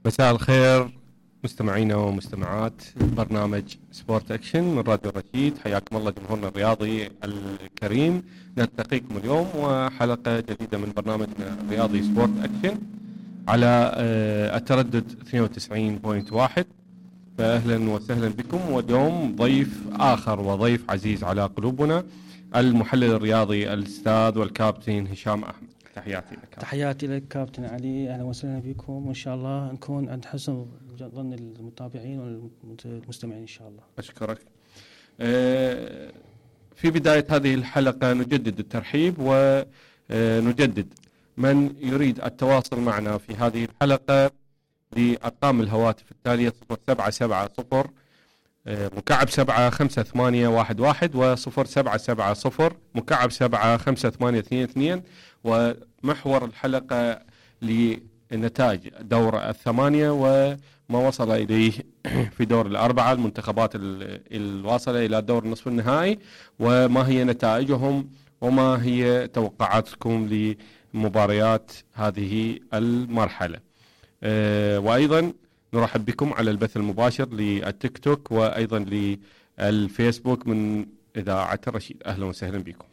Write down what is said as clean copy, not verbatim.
مساء الخير مستمعينا ومستمعات برنامج سبورت اكشن من راديو رشيد. حياكم الله جمهورنا الرياضي الكريم. نلتقيكم اليوم وحلقة جديدة من برنامجنا الرياضي سبورت اكشن على التردد 92.1. فأهلا وسهلا بكم. واليوم ضيف آخر وضيف عزيز على قلوبنا، المحلل الرياضي الأستاذ والكابتن هشام أحمد. تحياتي لك. تحياتي لك كابتن علي، أهلا وسهلا بكم، وإن شاء الله نكون عند حسن ظن المتابعين والمستمعين إن شاء الله. أشكرك. في بداية هذه الحلقة نجدد الترحيب ونجدد من يريد التواصل معنا في هذه الحلقة لأرقام الهواتف التالية: 0770 مكعب 75811 و0770 مكعب 75822. ومحور الحلقة لنتائج دور الثمانية وما وصل إليه في دور الأربعة، المنتخبات الواصلة إلى دور النصف النهائي، وما هي نتائجهم وما هي توقعاتكم لمباريات هذه المرحلة. وأيضا نرحب بكم على البث المباشر للتيك توك وأيضا للفيسبوك من إذاعة الرشيد. أهلا وسهلا بكم.